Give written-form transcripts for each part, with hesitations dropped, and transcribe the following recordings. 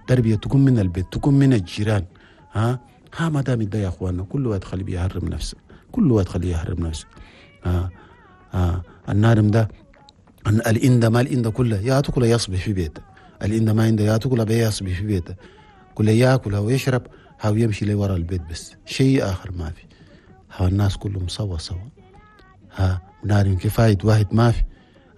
تربية تكون من البيت، تكون من الجيران. ها ما دام ده يا اخواننا كل واحد خليه بيهرم نفسه، كل واحد خليه يهرم نفسه. النارم ده الإندا ما الإندا كله يا تاكل يصبح في بيته، الإندا ما عنده يا تاكل بيصبح في بيته، كله ياكل او يشرب هاو يمشي لي ورا البيت بس، شيء اخر ما في. ها الناس كلهم سوا سوا. ها نارم كفاية واحد ما في.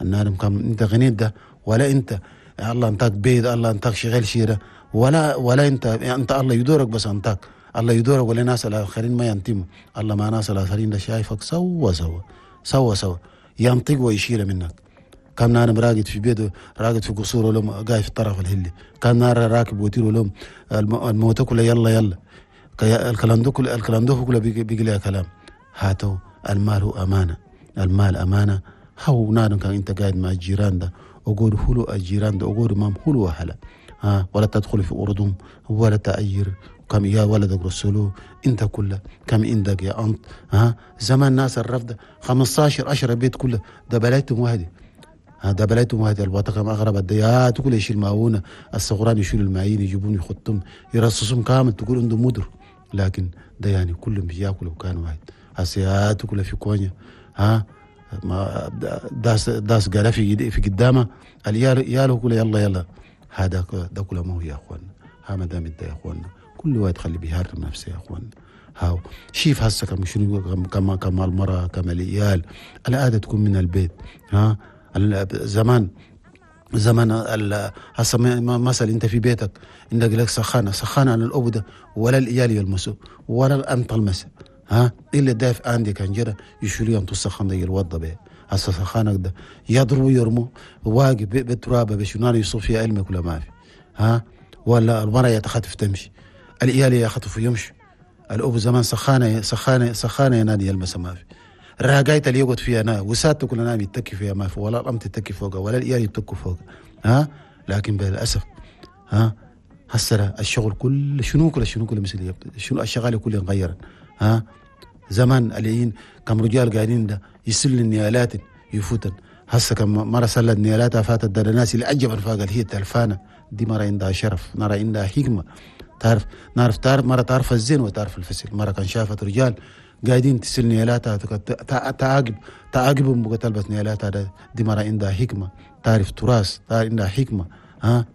النارم كم انت غنيت ده ولا انت الله انتاك بيض، الله انتاك شغل شيره، ولا انت الله يدورك بس انتاك الله يدورك، ولا ناس الاخرين ما ينتموا. الله ما ناس الاخرين ده شايفك سوا سوا سوا سوا، ينطق ويشيل منك. كان نار راقد في بيته، راقد في قصوره لهم قاعد في الطرف الهلي، كان نار راكب وتير لهم الموت كله يلا يلا الكلام ده كله، الكلام ده كله بيجي لها كلام. هاتوا المال هو امانه، المال امانه. هو نار كان انت قاعد مع الجيران ده وقول هلو الجيران ده وقول مام هلو هلا. ولا تدخل في أرضهم ولا تأير كم يا ولدك رسولو انت كله كم عندك يا أنت. زمان ناس الرفض 15 10 بيت كله ده بلايتهم واحدة. ده بلايتهم واحدة. الوطن أغرب الديات كله يشيل ماونة، الصغران يشيل الماعين يجيبون يخطهم يرصصهم كامل تقول عندهم مدر، لكن ده يعني كلهم بياكلوا كان واحد. هسيات كله في كونيا. ما داس قال في قدامه اليالو كله يلا يلا. هذا ده كله ما هو يا اخوان. ها ما دام ده يا اخوان كل واحد خلي بيهرم نفسه يا اخوان. هاو شيف هسه كم شنو كما كما المرأة كما العيال، العادة تكون من البيت. زمان هسه مثلا انت في بيتك عندك لك سخانه سخانه على الأبدة ولا العيال يلمسوا ولا انت تلمسه. الا داف عندي كان جرى يشيلوا ينطوا السخان ده يلوض به. هسه سخانك ده يضربوا يرموا واقف بالترابه بشنان يصف فيها علمك كلها ما في. ولا المرأة يتخطف تمشي، العيال يخطفوا يمشوا. الأب زمان سخانة سخانة سخانة ينادي يلمس ما في. الراقاية اللي يقعد فيها أنا وساته كلنا نام يتكي فيها ما في، ولا الأم تتكي فوقها ولا العيال يتكوا فوقها. لكن بالأسف هسه الشغل كل شنو كل شنو كل مثل شنو الشغال كله انغير. زمان العين كم رجال قاعدين ده يسل النيالات يفوتن. هسه كم مرة سلت نيالاتها فاتت ده الناس اللي عجبا فاقل هي تلفانة دي. مرة عندها شرف، مرة عندها حكمة، تعرف نعرف تعرف مرة تعرف الزين وتعرف الفسل. مرة كان شافت رجال قاعدين تسل نيالاتها تعاقبهم بقى تلبس نيالاتها دي. مرة عندها حكمة، تعرف تراث، تعرف عندها حكمة.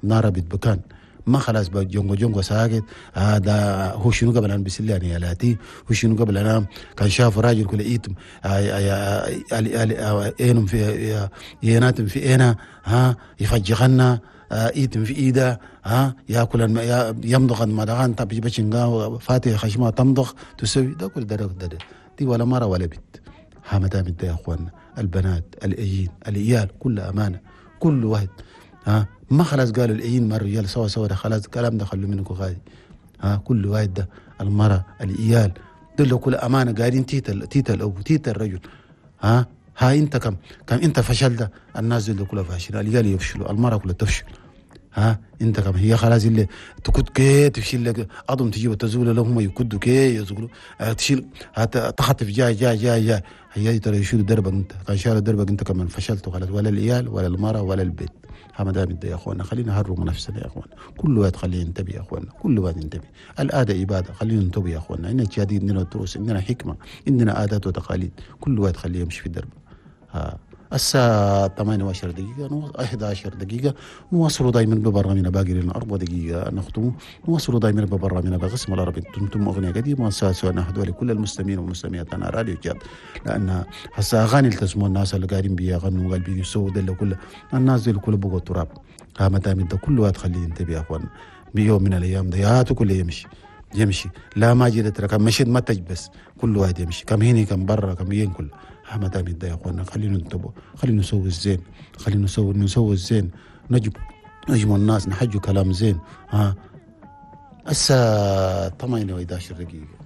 نارة بتبكان ما خلاص بقى جونجو جونجو ساكت. ده هو شنو قبل أن بيسلي نيالاتي، هو شنو قبل أنا كان شاف راجل كل إيتم إينهم في يناتم في إينا. يفجغنا ايتم في ايده. ياكل يمضغ المدغان طب بشنغا فاتح خشمه تمضغ تسوي ده كل ده ده دي ولا مرة ولا بنت. ها ما دام يا اخواننا البنات الايين العيال كل امانه كل واحد. ما خلاص قالوا الايين مع الرجال سوا سوا ده خلاص الكلام ده خلوا منكم غادي. كل واحد ده المرة العيال دول كل امانه قاعدين تيتا الاب تيتا الرجل. ها انت كم انت فشل ده الناس دول كلها فاشلة، العيال يفشلوا، المرة كلها تفشل. انت كم هي خلاص اللي تكد كي تشيل لك اظن تجيب تزول لهم يكدوا كي يزولوا تشيل تخطف جاي جاي جاي جاي هي ترى يشيلوا دربك انت كان شالوا دربك انت كمان فشلت وخلاص، ولا العيال ولا المرة ولا البيت. ها ما دام يا اخوانا خلينا نهرب نفسنا يا اخوانا، كل واحد خليه ينتبه يا اخوانا، كل واحد ينتبه. العادة عباده، خلينا ننتبه يا اخوانا. عندنا جديد، عندنا دروس، عندنا حكمه، عندنا عادات وتقاليد، كل واحد خليه يمشي في دربه. الساعة 18 دقيقة 11 دقيقة نواصلوا دائما ببرنامجنا، باقي لنا 4 دقيقة نختمه. نواصلوا دائما ببرنامجنا بقسم العربي. تنتم أغنية قديمة وساسوا نهدوا لكل المستمعين والمستمعات على راديو جاد، لأن هسا أغاني اللي تسمون الناس اللي قاعدين بيغنوا وقاعدين يسووا دل كل الناس دي كل بقوا تراب. ها ما دام انت كل واحد خليه ينتبه يا اخوان، بيوم من الأيام ده كله يمشي يمشي، لا ما جرت كم مشيت ما تجبس، كل واحد يمشي كم هني كم برا كم ين كل. ما دام ده يا اخوانا خلينا ننتبه، خلينا نسوي الزين، خلينا نسوي الزين، نجم الناس نحجوا كلام زين. الساعة 8:11 دقيقة.